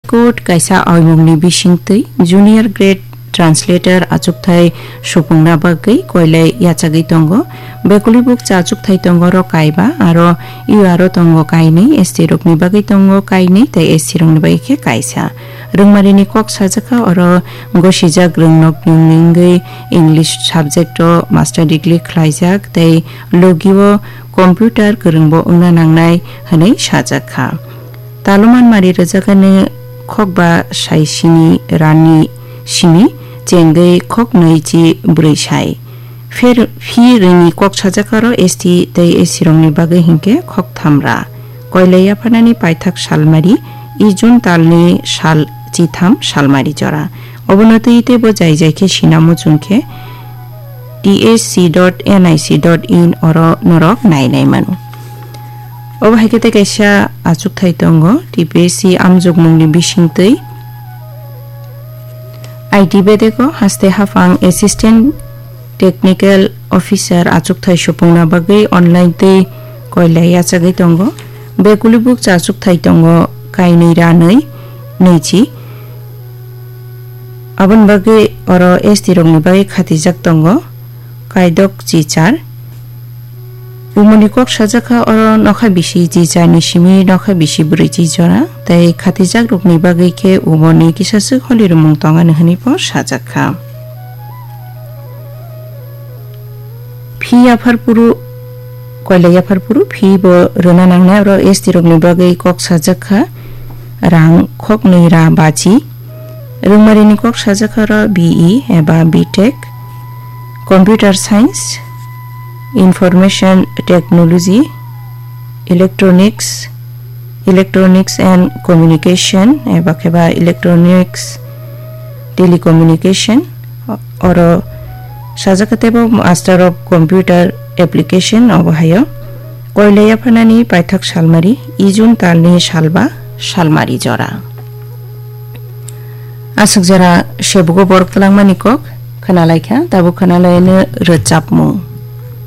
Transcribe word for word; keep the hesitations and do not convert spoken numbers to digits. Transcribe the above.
Court kaisa oimungni bisingtwi junior grade translator achukthai supungna bagwi koilai yachagwi tongo. Bekulibukcha achukthai tongo oro kaiba, aro U R o tongo kainwi, S T rokni bagwi tongo kainwi tei S C rokni bagwi khe kaisa. Rwngmarini kok sajakha oro gosijak rwngnokni wngwi English subject o master degree khlaijak tei logio computer kwrwngbo wngna nangnai hwnwi sajakha. Taloman mari rwjakani khokba sai sini rani simi chengwi khoknwi chi bwrwi sai. Pher-, phi rini kok sajakha oro S T tei S C rokni bagwi hinkhe khoktham ra. Koilai yapharnani paithak salmari, i June talni sal chitham salmari jora. Obono twi teibo jai jai khe sinamo chwng khe T S C dot N I C dot in oro norok nainai mano. Obo hai khe tei kaisa achukthai tongo, T P S C amjokmungni bisingtwi I T bedeko haste haphang Assistant Technical Officer achukthai supungna bagwi online tei koilai yachagwi tongo. Bekulibukcha achukthai tongo kainwi ranwi nwichi. Aboni bagwi oro S T rokni bagwi khatijak tongo kaidok chichar. Umoni kok sajakha oro nokha bisi chichar ni simi nokha bisi bwrwi chichara tei khatijak rokni bagwi khe umoni kisaswk holirwmung tongani hwnwi bo sajakha. Phi yaphar phuru, koilai yaphar phuru phi bo rwna nangnai, oro S T rokni bagwi kok sajakha rang khoknwi ra bachi. Rwngmarini kok sajakha oro B E eba B Tech, Computer Science, Information Technology, Electronics, Electronics and Communication, eba kheba Electronics Telecommunication, oro sajak teibo Master of Computer Application obo hayo. Koilai yapharnani paithak salmari, i June talni salba salmari jora. Aswk jora sebugo borok twlangmani kok khwnalaikha, tabuk khwnalaino rwchapmung.